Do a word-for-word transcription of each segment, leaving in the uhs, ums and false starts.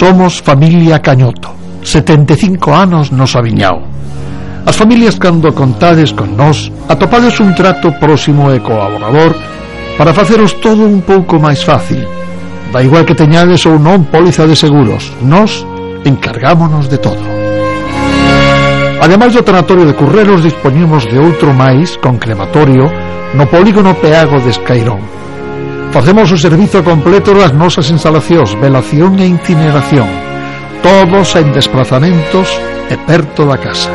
Somos familia Cañoto, setenta e cinco anos no Sabiñao. As familias, cando contades con nós, atopades un trato próximo e colaborador para faceros todo un pouco máis fácil. Da igual que teñades ou non póliza de seguros, nós encargámonos de todo. Ademais do tanatorio de Currelos, dispoñemos de outro máis con crematorio no polígono Peago de Escairón. Facemos o servizo completo das nosas instalacións, velación e incineración, todos en desplazamentos e perto da casa.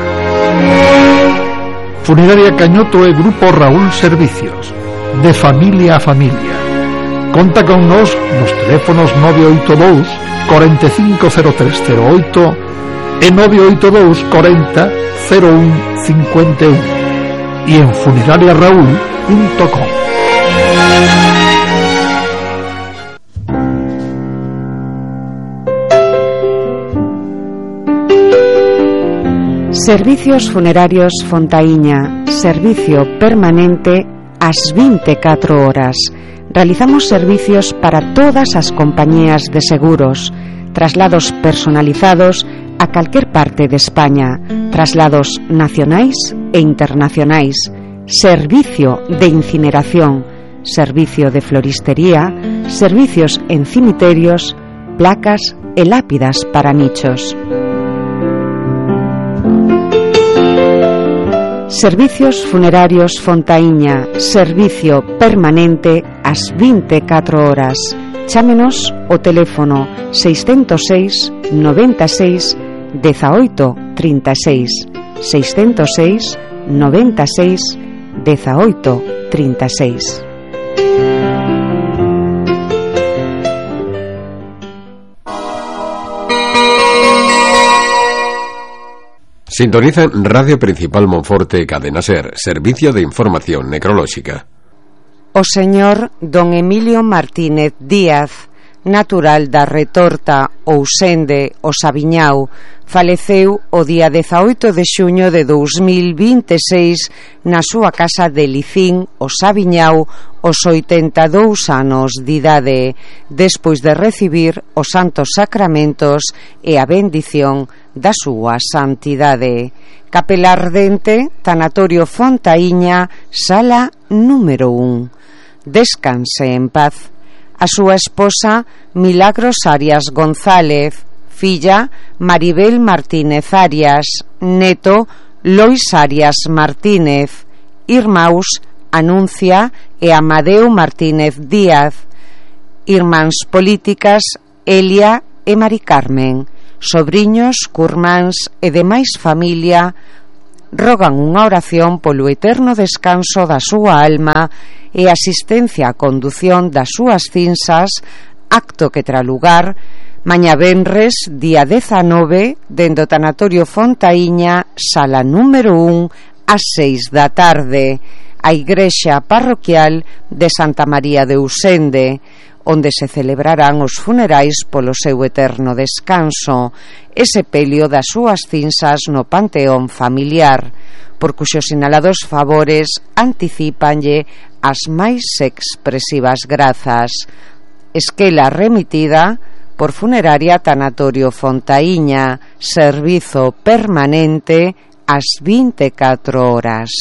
Funeraria Cañoto e Grupo Raúl Servicios, de familia a familia. Conta con nos nos teléfonos nove oito dous, cuarenta e cinco cero tres cero oito e nove oito dous, cuarenta cero un cincuenta e un e en funeraria raúl punto com. Servicios Funerarios Fontaíña, servicio permanente ás vinte e catro horas. Realizamos servicios para todas as compañías de seguros, traslados personalizados a calquer parte de España, traslados nacionais e internacionais, servicio de incineración, servicio de floristería, servicios en cimiterios, placas e lápidas para nichos. Servicios Funerarios Fontaíña, servicio permanente ás vinte e catro horas. Chámenos o teléfono seiscentos seis, noventa e seis, dezaoito, trinta e seis, seiscentos seis, noventa e seis, dezaoito, trinta e seis. Sintonizan Radio Principal Monforte, Cadena Ser, Servicio de Información Necrolóxica. O señor don Emilio Martínez Díaz, natural da Retorta, Ousende, o Sabiñao, faleceu o día dezaoito de xuño de dous mil vinte e seis na súa casa de Licín, o Sabiñao, os oitenta e dous anos de idade, despois de recibir os santos sacramentos e a bendición da súa santidade. Capela Ardente, Tanatorio Fontaíña, sala número un. Descanse en paz. A súa esposa Milagros Arias González, filla Maribel Martínez Arias, neto Lois Arias Martínez, irmáns Anuncia e Amadeu Martínez Díaz, irmáns políticas Elia e Mari Carmen, sobriños, curmáns e demais familia rogan unha oración polo eterno descanso da súa alma e asistencia a condución das súas cinzas, acto que terá lugar mañá venres, día dezanove, dende o Tanatorio Fontaíña, sala número un, ás seis da tarde, a igrexa parroquial de Santa María de Ousende, onde se celebrarán os funerais polo seu eterno descanso e sepelio das súas cinzas no panteón familiar, por cuxos sinalados favores anticípanlle as máis expresivas grazas. Esquela remitida por Funeraria Tanatorio Fontaíña, servizo permanente ás vinte e catro horas.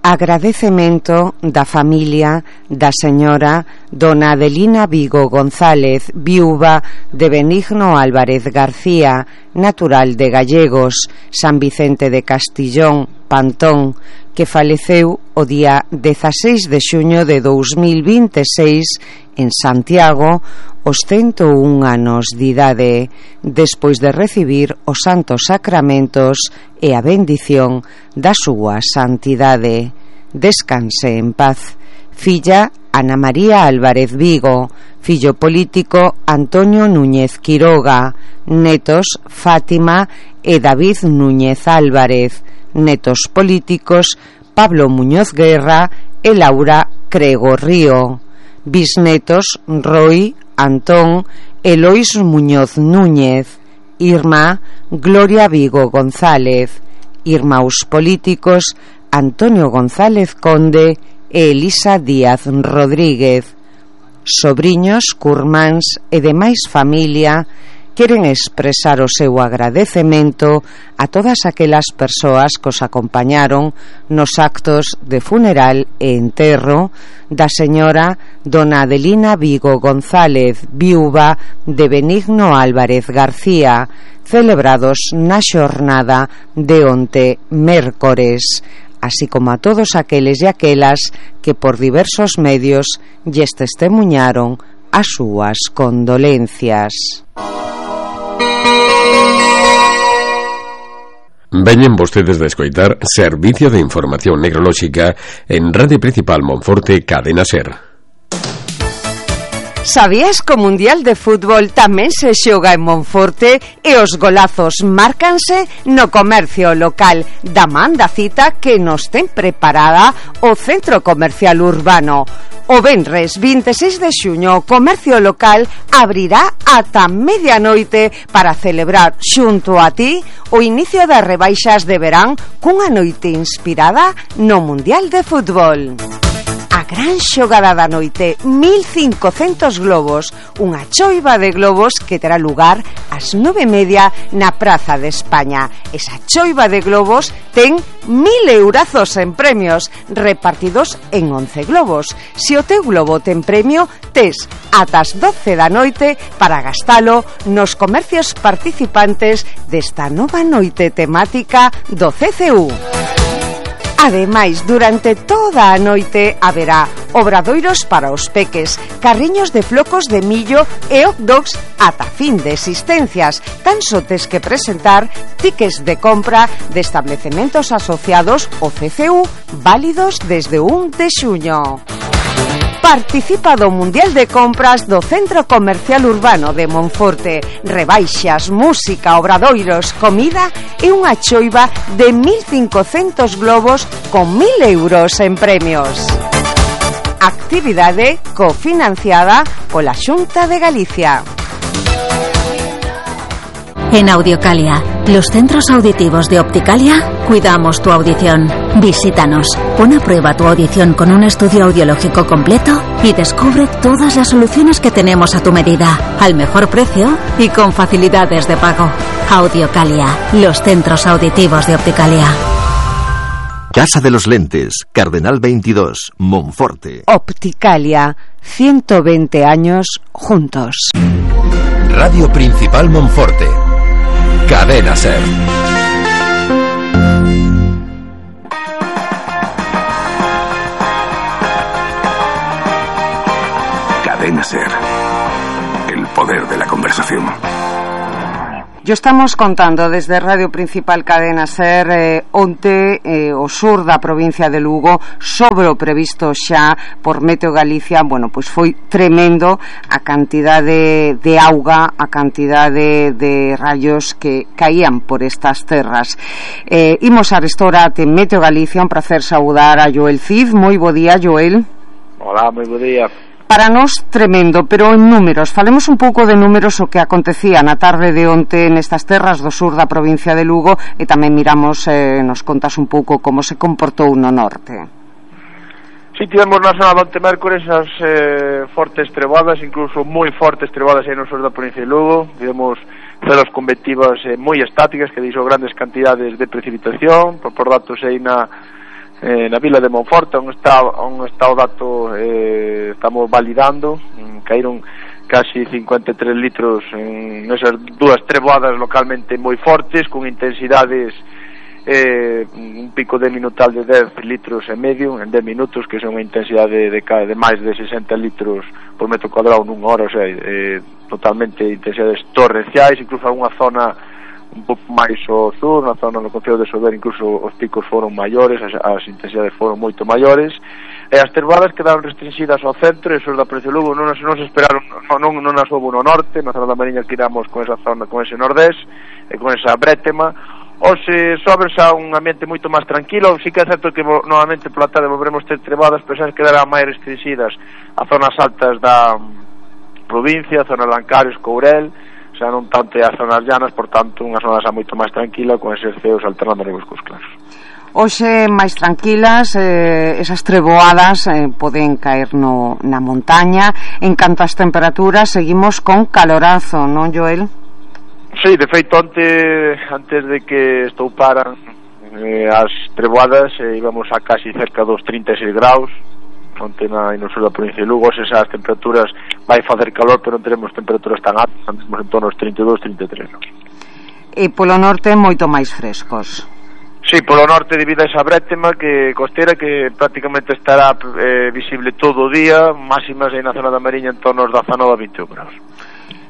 Agradecemento da familia da señora dona Adelina Vigo González, viúva de Benigno Álvarez García, natural de Gallegos, San Vicente de Castillón, Pantón, que faleceu o día dezaseis de xuño de dous mil vinte e seis en Santiago, os cento un anos de idade, despois de recibir os santos sacramentos e a bendición da súa santidade. Descanse en paz. Filla Ana María Álvarez Vigo, fillo político Antonio Núñez Quiroga, netos Fátima e David Núñez Álvarez, netos políticos Pablo Muñoz Guerra e Laura Crego Río, bisnetos Roy, Antón e Lois Muñoz Núñez, irmá Gloria Vigo González, irmáns políticos Antonio González Conde e Elisa Díaz Rodríguez, sobriños, curmáns e demais familia queren expresar o seu agradecemento a todas aquelas persoas que os acompañaron nos actos de funeral e enterro da señora dona Adelina Vigo González, viúva de Benigno Álvarez García, celebrados na xornada de onte mércores, así como a todos aqueles e aquelas que por diversos medios lles testemuñaron as súas condolencias. Veñen vostedes de escoitar Servicio de Información Necrolóxica en Radio Principal Monforte, Cadena SER. Sabías que o Mundial de Fútbol tamén se xoga en Monforte e os golazos márcanse no comercio local da man da cita que nos ten preparada o Centro Comercial Urbano. O venres vinte e seis de xuño o comercio local abrirá ata medianoite para celebrar xunto a ti o inicio das rebaixas de verán cunha noite inspirada no Mundial de Fútbol. A gran xogada da noite, mil cincocentos globos, unha choiva de globos que terá lugar ás nove e media na Praza de España. Esa choiva de globos ten mil eurazos en premios, repartidos en once globos. Se o teu globo ten premio, tes ata as doce da noite para gastalo nos comercios participantes desta nova noite temática do C C U. Ademais, durante toda a noite haberá obradoiros para os peques, carriños de flocos de millo e hot dogs ata fin de existencias. Tan só tes que presentar tickets de compra de establecementos asociados ao C C U válidos desde un de xuño. Participa do Mundial de Compras do Centro Comercial Urbano de Monforte. Rebaixas, música, obradoiros, comida e unha choiva de mil cincocentos globos con mil euros en premios. Actividade cofinanciada pola Xunta de Galicia. En Audiocalia, los centros auditivos de Opticalia, cuidamos tu audición. Visítanos, pon a prueba tu audición con un estudio audiológico completo y descubre todas las soluciones que tenemos a tu medida, al mejor precio y con facilidades de pago. Audiocalia, los centros auditivos de Opticalia. Casa de los Lentes, Cardenal veintidós, Monforte. Opticalia, ciento veinte años juntos. Radio Principal Monforte. Cadena SER. Cadena SER. El poder de la conversación. Yo estamos contando desde Radio Principal Cadena SER eh, onte eh, o sur da provincia de Lugo sobre o previsto xa por Meteo Galicia. Bueno, pois foi tremendo a cantidade de auga, a cantidade de rayos que caían por estas terras. Eh, imos a restaurante Meteo Galicia, un placer saudar a Joel Cid. Moi bo día, Joel. Hola, moi bo día. Para nós tremendo, pero en números, falemos un pouco de números o que acontecía na tarde de onte nestas terras do sur da provincia de Lugo e tamén miramos, eh, nos contas un pouco como se comportou no norte. Si, sí, tivemos na zona do onte mércores as eh, fortes trebadas, incluso moi fortes trebadas aí no sur da provincia de Lugo. Tivemos celos convectivas eh, moi estáticas que deixou grandes cantidades de precipitación, por, por datos aí na Eh, na vila de Monforte, onde está, onde está o dato, eh, estamos validando, mm, caíron casi cincuenta e tres litros en esas dúas treboadas localmente moi fortes, con intensidades, eh, un pico de minutal de dez litros e medio en dez minutos, que son unha intensidade de, de, de máis de sesenta litros por metro cuadrado nunha hora, o sea, eh, totalmente intensidades torrenciais, incluso algunha zona un pouco máis ao sur, na zona do concello de Sober, incluso os picos foron maiores, as, as intensidades foron moito maiores, e as terbadas quedaron restringidas ao centro e sur da provincia de Lugo. Non, non se esperaron, non, non, non as houve no norte, na zona da Mariña que iramos con esa zona, con ese nordés e con esa brétema. Os eh, sobres a un ambiente moito máis tranquilo. Sí que é certo que novamente pola tarde volveremos ter trebadas, pero xa quedarán máis restringidas a zonas altas da provincia, a zona de Lancares, Courel, xa non tanto as zonas llanas, por tanto, unha zona xa moito máis tranquila, con eses ceos alternando negros cos claros. Hoxe máis tranquilas, eh, esas treboadas eh, poden caer no, na montaña. En canto ás temperaturas, seguimos con calorazo, non, Joel? Sí, de feito, antes, antes de que estouparan eh, as treboadas, eh, íbamos a casi cerca dos trinta e seis graus, onte na no sur da provincia de Lugo. Esas temperaturas vai facer calor, pero non teremos temperaturas tan altas, andamos en torno aos trinta e dous, trinta e tres. No? E polo norte moito máis frescos. Sí, polo norte debido a esa brétema que costera que prácticamente estará eh, visible todo o día, máximas aí na zona da Mariña en torno aos dezanove a vinte graus.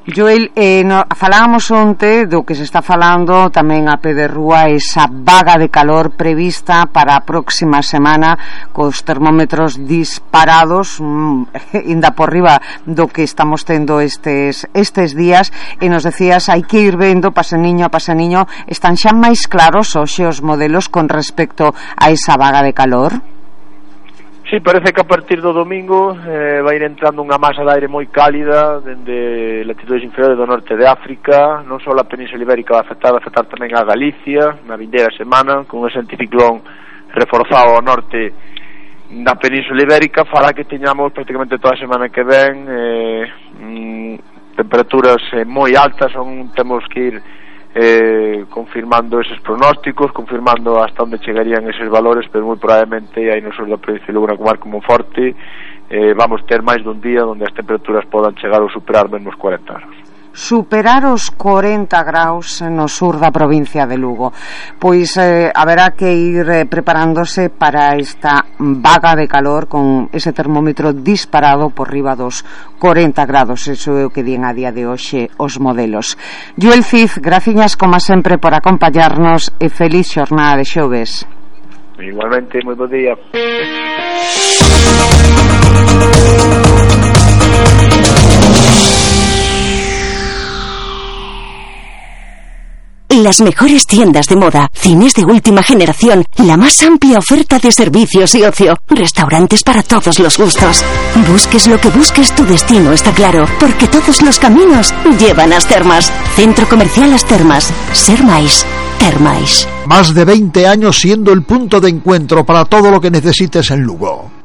Joel, eh, no, falábamos onte do que se está falando tamén a pé de rúa, esa vaga de calor prevista para a próxima semana, cos termómetros disparados mm, inda por riba do que estamos tendo estes, estes días. E nos decías, hai que ir vendo paseniño a paseniño. Están xa máis claros hoxe os modelos con respecto a esa vaga de calor? Sí, parece que a partir do domingo eh, vai ir entrando unha masa de aire moi cálida dende latitudes inferiores do norte de África. Non só a Península Ibérica vai afectar, vai afectar tamén a Galicia na vindeira semana, con ese anticiclón reforzado ao norte da Península Ibérica. Fará que teñamos prácticamente toda a semana que ven eh, mm, temperaturas eh, moi altas. Son, temos que ir Eh, confirmando eses pronósticos, confirmando hasta onde chegarían eses valores, pero moi probablemente aí no sur da provincia de Lugo, na comarca Monforte, eh, vamos ter máis dun día onde as temperaturas podan chegar ou superar menos cuarenta graus. Superar os cuarenta graus no sur da provincia de Lugo. Pois eh, haberá que ir eh, preparándose para esta vaga de calor con ese termómetro disparado por riba dos cuarenta grados. Eso é o que din a día de hoxe os modelos. Joel Cid, graciñas como sempre por acompañarnos e feliz xornada de xoves. Igualmente, moi bo día. Las mejores tiendas de moda, cines de última generación, la más amplia oferta de servicios y ocio, restaurantes para todos los gustos. Busques lo que busques, tu destino está claro, porque todos los caminos llevan a As Termas. Centro Comercial As Termas. Ser máis, ter máis. Más de veinte años siendo el punto de encuentro para todo lo que necesites en Lugo.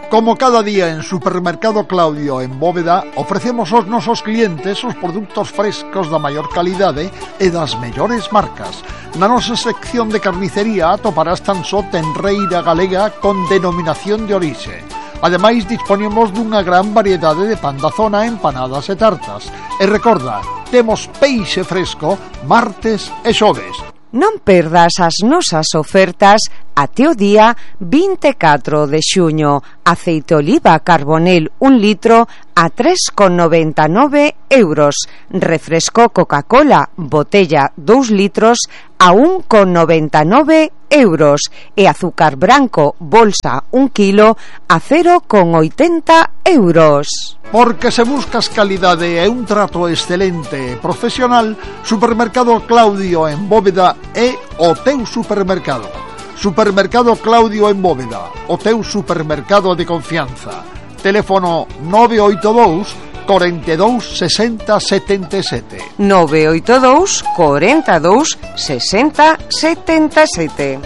Como cada día en Supermercado Claudio en Bóveda, ofrecemos aos nosos clientes os produtos frescos da maior calidade e das mellores marcas. Na nosa sección de carnicería atoparás tan só tenreira galega con denominación de orixe. Ademais, disponemos dunha gran variedade de pan da zona, empanadas e tartas. E recorda, temos peixe fresco martes e xoves. Non perdas as nosas ofertas até o día vinte e catro de xuño. Aceite oliva Carbonel un litro a tres con noventa e nove euros. Refresco Coca-Cola botella dous litros a un con noventa e nove euros. E azúcar branco bolsa un kilo a cero con oitenta euros. Porque se buscas calidade e un trato excelente e profesional, Supermercado Claudio en Bóveda é o teu supermercado. Supermercado Claudio en Bóveda, o teu supermercado de confianza. Teléfono nove oito dous, cuarenta y dos, sesenta, setenta y siete. nove oito dous, cuarenta y dos, sesenta, setenta y siete.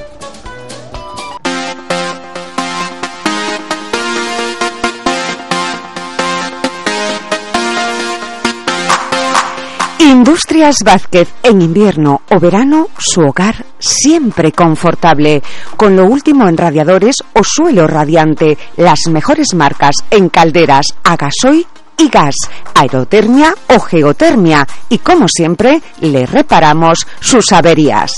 Industrias Vázquez, en invierno o verano, su hogar siempre confortable. Con lo último en radiadores o suelo radiante, las mejores marcas en calderas a gasoil y gas, aerotermia o geotermia. Y como siempre, le reparamos sus averías.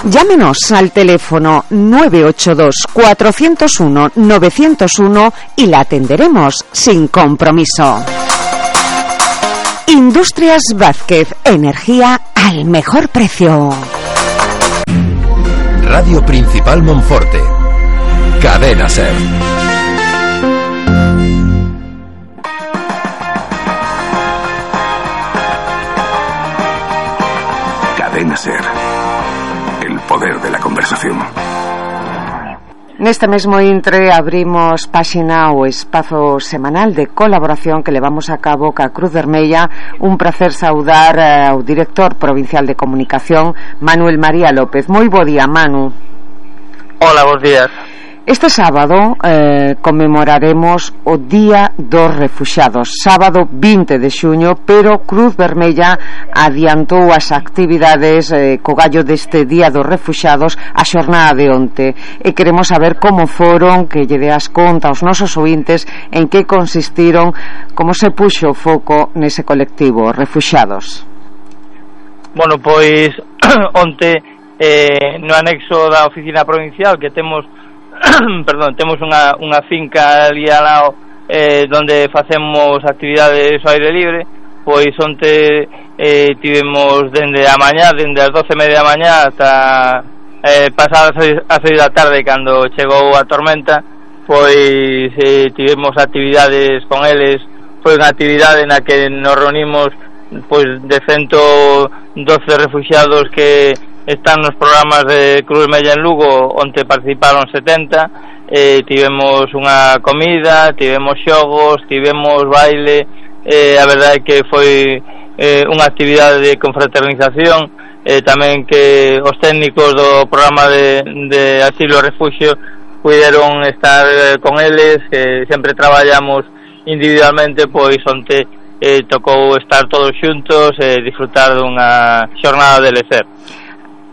Llámenos al teléfono nueve ocho dos, cuatro cero uno, nueve cero uno y la atenderemos sin compromiso. Industrias Vázquez, energía al mejor precio. Radio Principal Monforte. Cadena Ser. Cadena Ser. El poder de la conversación. Neste mesmo intre abrimos páxina o espazo semanal de colaboración que levamos a cabo ca Cruz Vermella. Un placer saudar ao director provincial de comunicación, Manuel María López. Moi bo día, Manu. Hola, bons días. Este sábado eh, conmemoraremos o Día dos Refuxiados, sábado vinte de xuño, pero Cruz Vermella adiantou as actividades eh, co gallo deste Día dos Refuxiados a xornada de onte, e queremos saber como foron, que lle deas conta aos nosos ointes en que consistiron, como se puxo o foco nese colectivo, refuxiados. Bueno, pois onte eh, no anexo da oficina provincial que temos perdón, temos unha, unha finca ali ao lado eh, donde facemos actividades ao aire libre. Pois onte eh, tivemos dende a mañá, dende as doce e media da mañá ata eh, pasadas as seis da tarde, cando chegou a tormenta. Pois eh, tivemos actividades con eles. Foi unha actividade na que nos reunimos pois de ciento doce refuxiados que están nos programas de Cruz Vermella en Lugo, onde participaron setenta. Eh, tivemos unha comida, tivemos xogos, tivemos baile. Eh, a verdade é que foi eh, unha actividade de confraternización. Eh, tamén que os técnicos do programa de, de asilo e refuxio puderon estar eh, con eles, que sempre traballamos individualmente. Pois onte eh, tocou estar todos xuntos e eh, disfrutar dunha xornada de lecer.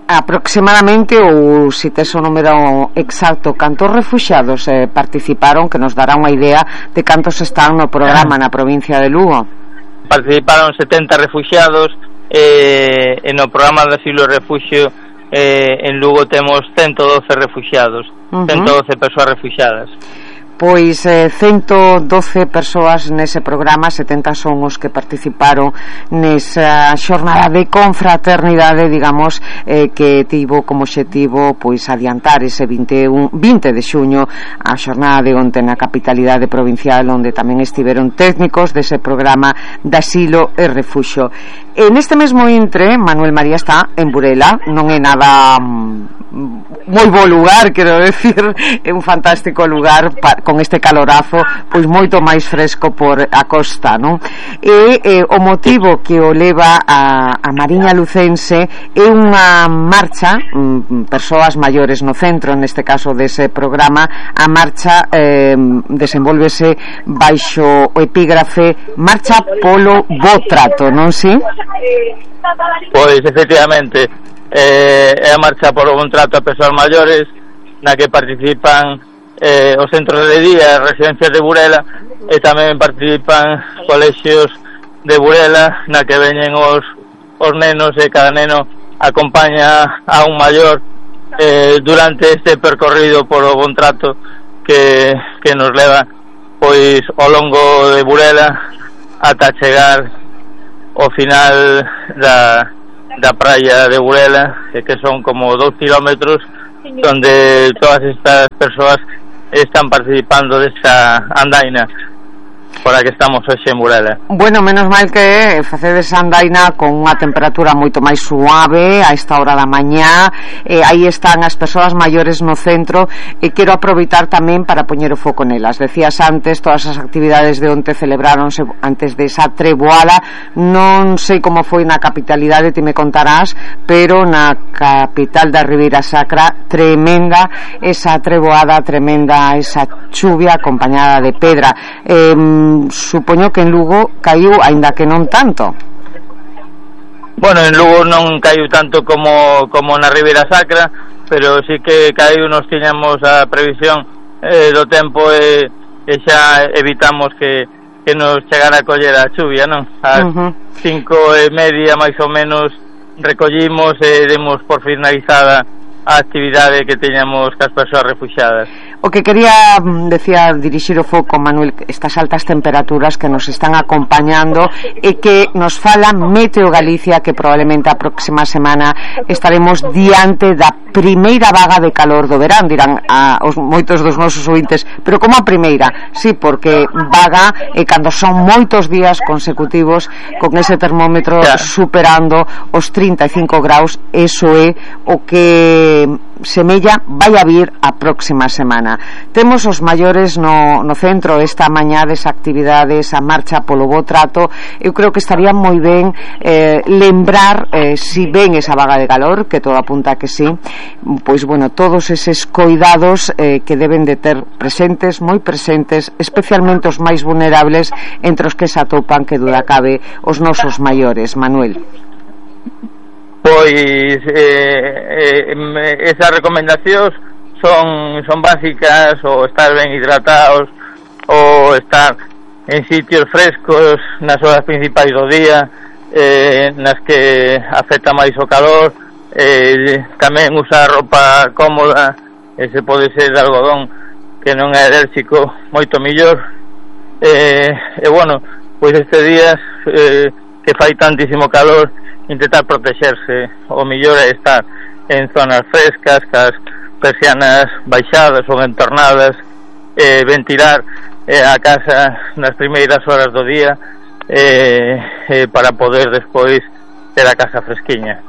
Aproximadamente, ou se tes o número exacto, cantos refuxiados eh, participaron, que nos dará unha idea de cantos están no programa na provincia de Lugo? Participaron setenta refuxiados eh, e no programa de asilo e refuxio eh, en Lugo temos ciento doce refuxiados, uh-huh. ciento doce persoas refuxiadas. Pois eh, ciento doce persoas nese programa, setenta son os que participaron nesa xornada de confraternidade, digamos, eh, que tivo como obxectivo pois adiantar ese vinte de xuño a xornada de onte na capitalidade provincial, onde tamén estiveron técnicos dese programa de asilo e refuxio. E neste mesmo intre, Manuel María está en Burela, non é nada mm, moi bo lugar, quero decir, é un fantástico lugar pa, con este calorazo, pois moito máis fresco por a costa, non? E eh, o motivo que o leva a, a Mariña Lucense é unha marcha, mm, persoas maiores no centro, neste caso dese programa. A marcha eh, desenvolvese baixo o epígrafe Marcha polo bo trato, non si? Pois efectivamente eh, é a marcha polo bon trato a persoas maiores, na que participan eh, os centros de día e residencias de Burela, e tamén participan colexios de Burela, na que veñen os, os nenos, e cada neno acompaña a un maior eh, durante este percorrido polo bon trato que, que nos leva pois ao longo de Burela ata chegar ao final da, da praia de Burela, que son como dos kilómetros, donde todas estas persoas están participando desa andaina por a que estamos hoxe en Burela. Bueno, menos mal que facedes andaina con unha temperatura moito máis suave a esta hora da mañá. eh, aí están as persoas maiores no centro, e quero aproveitar tamén para poñer o foco nelas. Decías antes, todas as actividades de onte celebráronse antes de esa treboada. Non sei como foi na capitalidade, ti me contarás, pero na capital da Ribeira Sacra, tremenda esa treboada, tremenda esa chuvia acompañada de pedra. eh, supoño que en Lugo caiu, aínda que non tanto. Bueno, en Lugo non caiu tanto como, como na Ribeira Sacra, pero sí que caiu, nos tiñamos a previsión eh, do tempo, e, e xa evitamos que, que nos chegara a coller a chuvia, non? As uh-huh. cinco e media máis ou menos recollimos e demos por finalizada a actividade que teñamos cas persoas refuxiadas. O que quería, decía, dirixir o foco, Manuel, estas altas temperaturas que nos están acompañando e que nos fala Meteo Galicia que probablemente a próxima semana estaremos diante da primeira vaga de calor do verán, dirán a, os moitos dos nosos ouvintes, pero como a primeira? Sí, porque vaga e cando son moitos días consecutivos con ese termómetro yeah. superando os trinta e cinco graus, eso é o que semella vai a vir a próxima semana. Temos os maiores no, no centro esta mañá desa actividade, esa marcha polo bo trato. Eu creo que estaría moi ben eh, lembrar, eh, si ven esa vaga de calor, que todo apunta que sí, pois bueno, todos eses coidados eh, que deben de ter presentes, moi presentes, especialmente os máis vulnerables, entre os que se atopan, que duda cabe, os nosos maiores. Manuel. Pois eh, eh, esas recomendacións son son básicas, o estar ben hidratados, o estar en sitios frescos nas horas principais do día, eh, nas que afecta máis o calor, eh, tamén usar roupa cómoda, e se pode ser de algodón que non é alérxico, moito millor. Eh, e bueno, pois estes días eh, que fai tantísimo calor, intentar protexerse. O millor é estar en zonas frescas, cas persianas baixadas ou entornadas, eh, ventilar eh, a casa nas primeiras horas do día, eh, eh, para poder despois ter a casa fresquiña.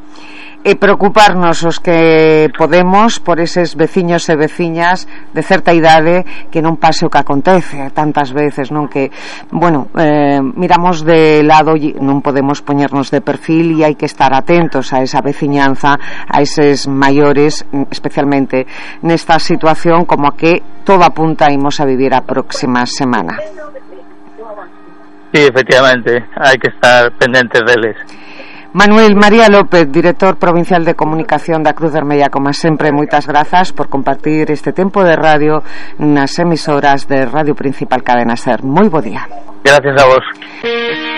E preocuparnos os que podemos por eses veciños e veciñas de certa idade, que non pase o que acontece tantas veces, non, que bueno, eh, miramos de lado, non podemos poñernos de perfil, e hai que estar atentos a esa veciñanza, a eses maiores, especialmente nesta situación como a que todo apunta imos a vivir a próxima semana. Sí, efectivamente, hai que estar pendentes deles. Manuel María López, director provincial de comunicación da Cruz Vermella, como sempre, moitas grazas por compartir este tempo de radio nas emisoras de Radio Principal Cadena Ser. Moi bo día. Gracias a vos.